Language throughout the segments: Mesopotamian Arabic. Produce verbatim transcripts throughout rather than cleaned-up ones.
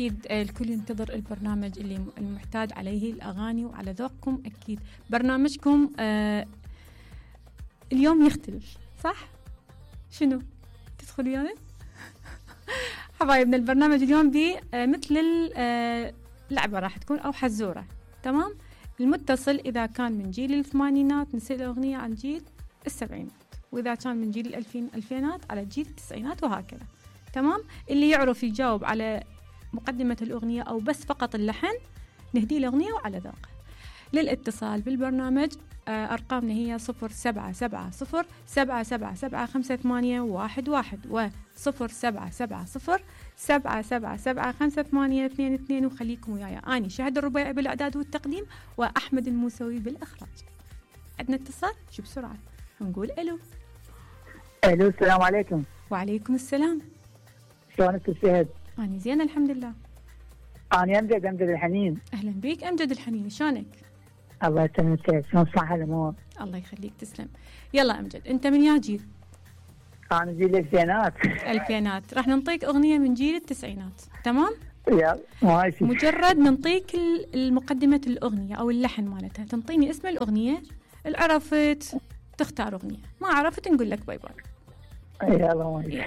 أكيد الكل ينتظر البرنامج اللي المحتاج عليه الأغاني وعلى ذوقكم. أكيد برنامجكم آه اليوم يختلف، صح؟ شنو؟ تدخلوا يعني؟ حبايبنا البرنامج اليوم بي آه مثل اللعبة راح تكون أو حزورة. تمام؟ المتصل إذا كان من جيل الثمانينات نسأل أغنية عن جيل السبعينات، وإذا كان من جيل الألفين ألفينات على جيل التسعينات وهكذا. تمام؟ اللي يعرف يجاوب على مقدمة الأغنية أو بس فقط اللحن نهدي الأغنية وعلى ذوقه. للاتصال بالبرنامج آه أرقامنا هي صفر سبعة سبعة صفر سبعة سبعة سبعة خمسة ثمانية واحد واحد وصفر سبعة سبعة صفر سبعة سبعة سبعة خمسة ثمانية اثنين اثنين. وخليكم وياي أني شهد الربيعي بالإعداد والتقديم وأحمد الموسوي بالإخراج. عندنا اتصال شو بسرعة نقول ألو. ألو السلام عليكم. وعليكم السلام. شلونك الشهد؟ أنا زين الحمد لله. أنا أمجد أمجد الحنين. أهلا بيك أمجد الحنين، شلونك؟ الله يسلمك، شلون صح الأمور؟ الله يخليك تسلم. يلا أمجد أنت من يا جيل؟ أنا جيل الألفينات. الألفينات. راح ننطيك أغنية من جيل التسعينات. تمام؟ يلا ماشي. مجرد ننطيك المقدمة الأغنية أو اللحن مالتها، تنطيني اسم الأغنية، العرفت تختار أغنية، ما عرفت نقول لك باي باي. يلا ماشي.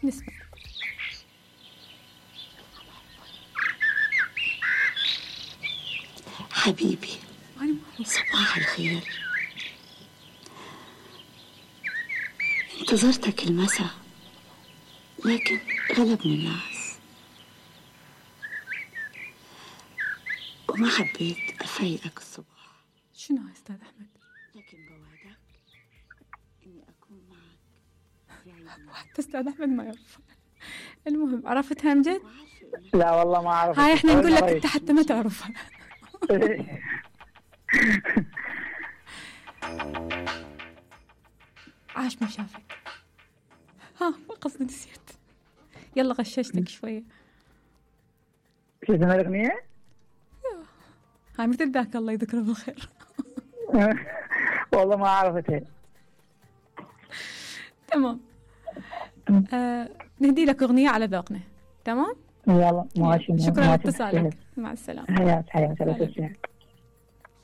نسمع. حبيبي صباح الخير، انتظرتك المساء لكن غلبني الناس وما حبيت أفاجئك الصبح. شنو يا أستاذ أحمد؟ لكن بوعدك إني أكون معك في عيد. حتى أستاذ أحمد ما يعرف. المهم عرفتها أمجد؟ لا والله ما أعرف. هاي إحنا نقول لك أنت حتى ما تعرفها. عاش ما شافك. ها ما قصدي نسيت. يلا غششتك شوية. شو اسمها الأغنية؟ هاي مثل ذاك الله يذكره بالخير. والله ما عرفتها. تمام. آه نهدي لك أغنية على ذوقنا. تمام؟ يلا ماشي. شكرا لاتصالك. مع السلامة. حياك حياك.